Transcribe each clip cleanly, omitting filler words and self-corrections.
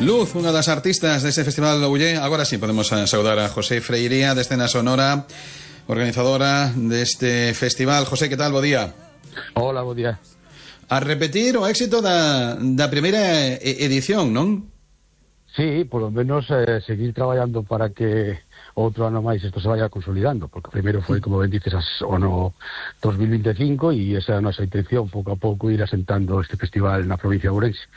Luz, unha das artistas deste Festival de Ullé. Agora sí, podemos saudar a José Freiría de Escena Sonora, organizadora deste festival. José, que tal? Bo día. Hola, bo día. A repetir o éxito da primeira edición, non? Sí, por lo menos seguir traballando para que outro ano máis isto se vaya consolidando, porque primeiro foi, como ben dices, o no 2025 e esa é a nosa intención, pouco a pouco ir asentando este festival na provincia de Ourense.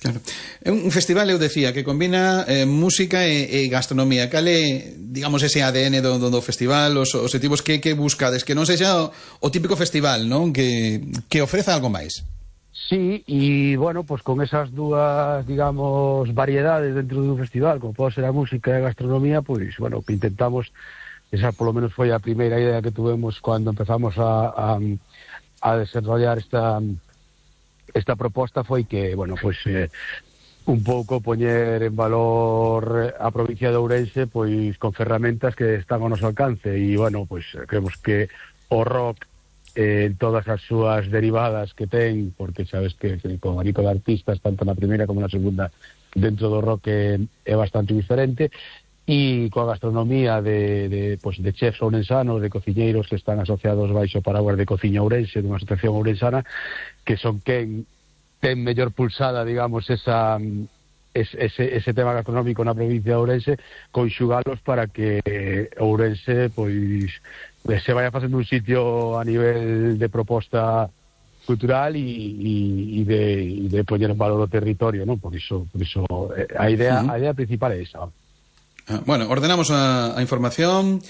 Claro. É un festival, eu decía, que combina música e gastronomía. Cal é, digamos, ese ADN do festival, os objetivos que buscades? Que non sexa o típico festival, non? Que ofreza algo máis. Sí, e, bueno, pues con esas dúas, digamos, variedades dentro dun festival, como pode ser a música e a gastronomía, pois, bueno, que intentamos, esa por lo menos foi a primeira idea que tuvemos cando empezamos a desarrollar esta proposta, foi que, bueno, pues un pouco poñer en valor a provincia de Ourense, pois con ferramentas que están ao noso alcance, e, bueno, pues creemos que o rock en todas as súas derivadas que ten, porque sabes que con abanico de artistas, tanto na primeira como na segunda, dentro do rock é bastante diferente, e coa gastronomía de chefs ourensanos, de cociñeiros que están asociados baixo paraguas de Cociña Ourense, dunha asociación ourensana, que son quen ten mellor pulsada, digamos, ese tema gastronómico na provincia de Ourense, conxugalos para que Ourense, pois, se vaya facendo un sitio a nivel de proposta cultural e de poñer en valor o territorio, non? Por iso a idea principal é esa. Bueno, ordenamos a información.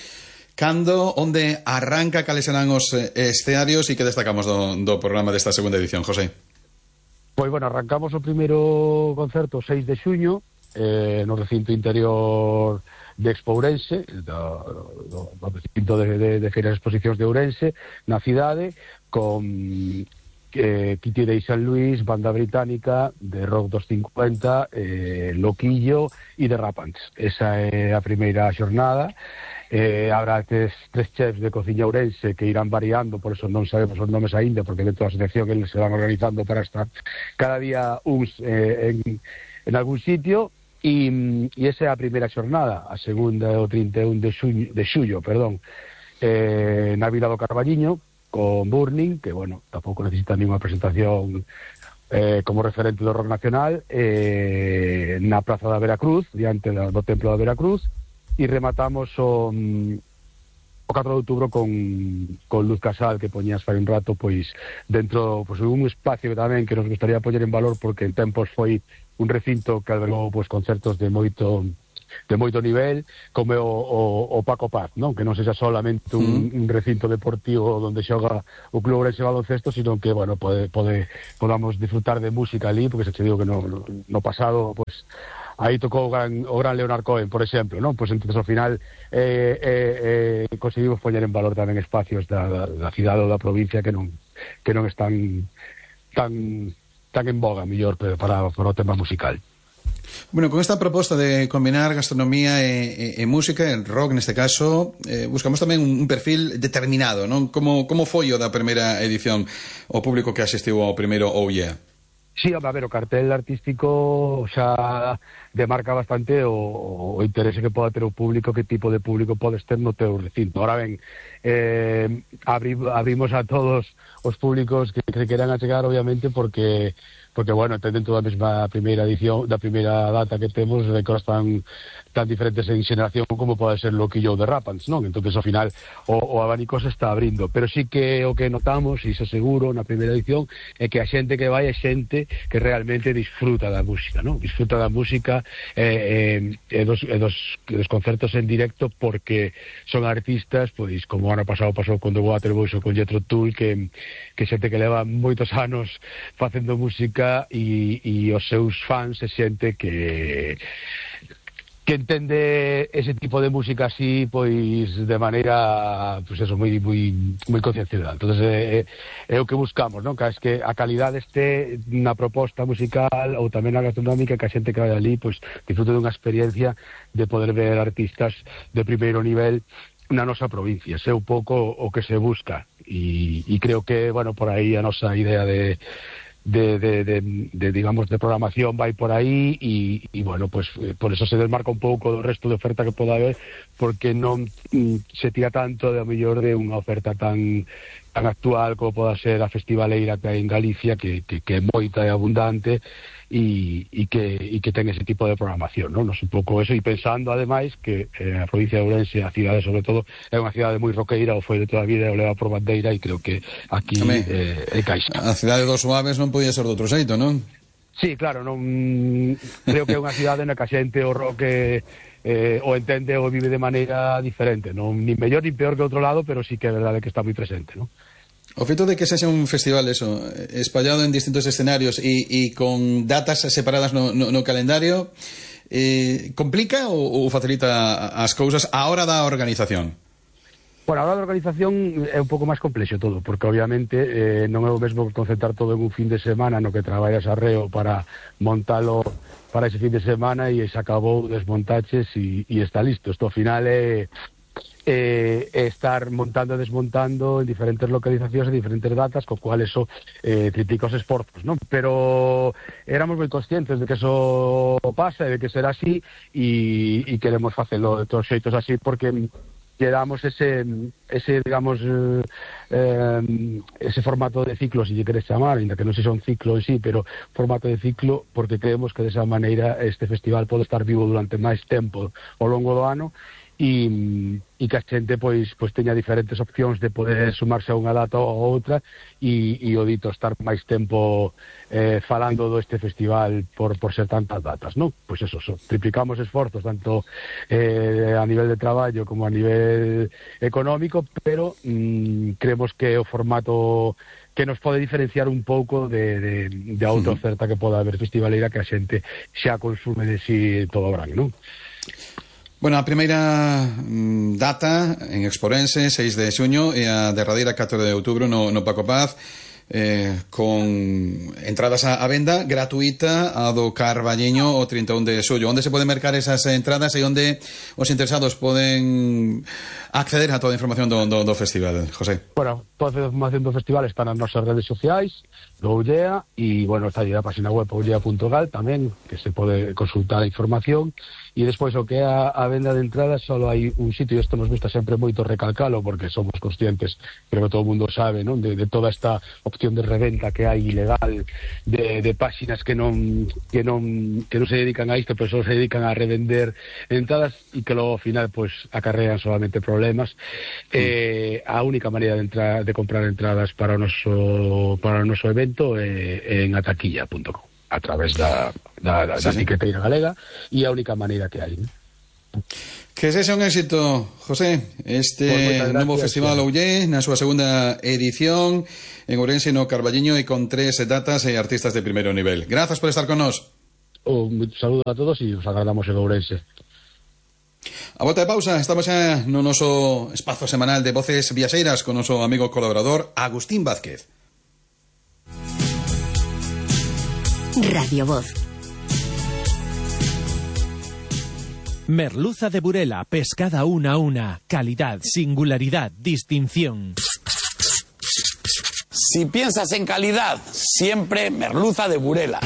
Cando, onde arranca, cales serán os escenarios e que destacamos do programa desta segunda edición, José? Pois, bueno, arrancamos o primeiro concerto o 6 de xuño no recinto interior de Expo Ourense, do recinto de feiras e exposicións de Ourense, na cidade, con Kitty Day San Luis, banda británica de rock dos 50, Loquillo e The Rapants. Esa é a primeira xornada. Habrá tres chefs de Cociña Ourense que irán variando, por eso non sabemos os nomes aínda, porque dentro da asociación eles se van organizando para estar cada día uns en algún sitio, e esa é a primeira xornada. A segunda é o 31 de xullo, na Vila do Carballiño, con Burning, que, bueno, tampouco necesita ninguna presentación como referente do rock nacional, na Praza da Veracruz, diante do Templo da Veracruz, e rematamos o 4 de outubro con Luz Casal, que poñías fai un rato, pois, dentro, pois, un espacio tamén que nos gustaría poñer en valor, porque en tempos foi un recinto que albergou, pois, concertos de moito nivel, como o Paco Paz, non? Que non sexa solamente un recinto deportivo onde xoga o Club Ourense Baloncesto, sino que, bueno, podamos disfrutar de música ali, porque se che digo que no pasado, pois, aí tocou o gran Leonard Cohen, por exemplo, non? Pois entonces ao final conseguimos poñer en valor tamén espacios da cidade ou da provincia que non están tan en boga, mellor, para o tema musical. Bueno, con esta proposta de combinar gastronomía e música, el rock neste caso, buscamos tamén un perfil determinado, non? Como foi o da primeira edición, o público que asistiu ao primeiro Oh Yeah? Sí, a ver, o cartel artístico xa demarca bastante o interese que poda ter o público, que tipo de público podes ter no teu recinto. Ahora ben, abrimos a todos os públicos que queran achegar, obviamente, porque bueno, dentro da mesma primeira edición, da primeira data que temos, records tan diferentes en xeneración como pode ser Loquillo de Rapants, non? Entonces, ao final, o abanico se está abrindo, pero sí que o que notamos, e iso seguro, na primeira edición, é que a xente que vai é xente que realmente disfruta da música, non? Disfruta da música dos concertos en directo, porque son artistas, pois, como o ano pasado pasou con The Waterboys ou con Jethro Tull, que xente que leva moitos anos facendo música e os seus fans se xente que entende ese tipo de música así, pois, de maneira, pois eso, moi concienciada. Entonces é o que buscamos, non? Que es que a calidade este na proposta musical ou tamén na gastronómica, que a xente que vai ali, pois, disfrute dunha experiencia de poder ver artistas de primeiro nivel na nosa provincia. É un pouco o que se busca, e creo que, bueno, por aí a nosa idea de digamos, de programación vai por aí e bueno, pues por eso se desmarca un pouco do resto de oferta que poda haber, porque non se tira tanto de a mellor de unha oferta tan actual como poda ser a festivaleira que hai en Galicia, que é moita e abundante e que ten ese tipo de programación, non? Nos un pouco eso, e pensando ademais que a provincia de Ourense, a cidade sobre todo, é unha cidade moi roqueira, o foi de toda a vida e o leva por bandeira, e creo que aquí é caixa. A cidade dos Suaves non podía ser de outro xeito, non? Sí, claro, non creo que é unha cidade na que a xente o rock o entende ou vive de maneira diferente, non ni mellor ni peor que outro lado, pero sí que é verdade que está moi presente, non? O feito de que sexa un festival espallado en distintos escenarios e con datas separadas no calendario, complica ou facilita as cousas a hora da organización? Bueno, a hora da organización é un pouco máis complexo todo, porque obviamente non é o mesmo concentrar todo en un fin de semana no que traballas arreo para montalo para ese fin de semana e se acabou, desmontaches e está listo. Isto ao final é estar montando e desmontando en diferentes localizacións e diferentes datas, co cual eso triplica os esforzos, non? Pero éramos moi conscientes de que eso pasa e de que será así e queremos facelo de todos xeitos así, porque lle damos ese digamos ese formato de ciclo, se lle queres chamar, ainda que non sexa un ciclo en sí, pero formato de ciclo, porque creemos que desa maneira este festival pode estar vivo durante máis tempo ao longo do ano e que a xente pois teña diferentes opcións de poder sumarse a unha data ou outra e o dito estar máis tempo falando deste festival por ser tantas datas, non? Pois eso, triplicamos esforzos tanto a nivel de traballo como a nivel económico, pero creemos que o formato que nos pode diferenciar un pouco de outra oferta que poda haber festivaleira que a xente xa consume de si todo o verán, non? Bueno, a primeira data en Exporense, 6 de xuño, e a derradeira 4 de outubro no Paco Paz, con entradas a venda gratuita a do Carballiño o 31 de xullo. Onde se poden mercar esas entradas e onde os interesados poden acceder a toda a información do festival, José? Bueno, toda a información do festival está nas nosas redes sociais, do Ullea, e, bueno, está aí a página web ullea.gal tamén, que se pode consultar a información. E despois o que é a venda de entradas, só hai un sitio, e isto nos gusta sempre moito recalcalo, porque somos conscientes, creo que todo o mundo sabe, non, de toda esta opción de reventa que hai ilegal de páxinas que non se dedican a isto, pero só se dedican a revender entradas e que logo ao final pois acarrean solamente problemas. A única maneira de comprar entradas para o noso evento é en ataquilla.com, a través da etiqueteira galega, e a única maneira que hai. Que sexa un éxito, José, este novo festival Ollé na súa segunda edición en Ourense no Carballiño e con 3 datas e artistas de primeiro nivel. Grazas por estar con nós. Un saludo a todos e os agardamos en Ourense. A volta de pausa, estamos xa no noso espazo semanal de Voces Viaxeiras con o noso amigo colaborador Agustín Vázquez. Radio Voz. Merluza de Burela, pescada una a una, calidad, singularidad, distinción. Si piensas en calidad, siempre merluza de Burela.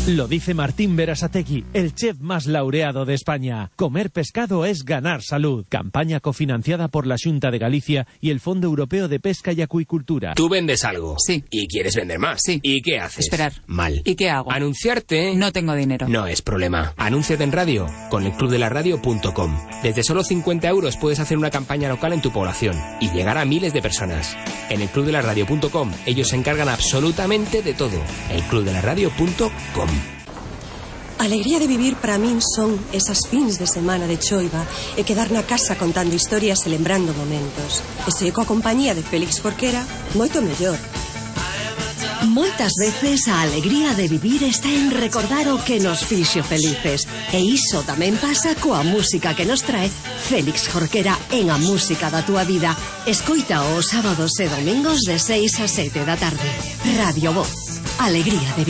Lo dice Martín Berasategui, el chef más laureado de España. Comer pescado es ganar salud. Campaña cofinanciada por la Xunta de Galicia y el Fondo Europeo de Pesca y Acuicultura. Tú vendes algo. Sí. Y quieres vender más. Sí. ¿Y qué haces? Esperar. Mal. ¿Y qué hago? Anunciarte. No tengo dinero. No es problema. Anúnciate en radio con elclubdelaradio.com. Desde solo 50 euros puedes hacer una campaña local en tu población y llegar a miles de personas. En elclubdelaradio.com ellos se encargan absolutamente de todo. elclubdelaradio.com. A alegría de vivir para min son esas fins de semana de choiva e quedar na casa contando historias e lembrando momentos. E se coa compañía de Félix Jorquera, moito mellor. Moitas veces a alegría de vivir está en recordar o que nos fixo felices. E iso tamén pasa coa música que nos trae Félix Jorquera en A Música da Túa Vida. Escoita os sábados e domingos de 6 a 7 da tarde. Radio Voz. Alegría de vivir.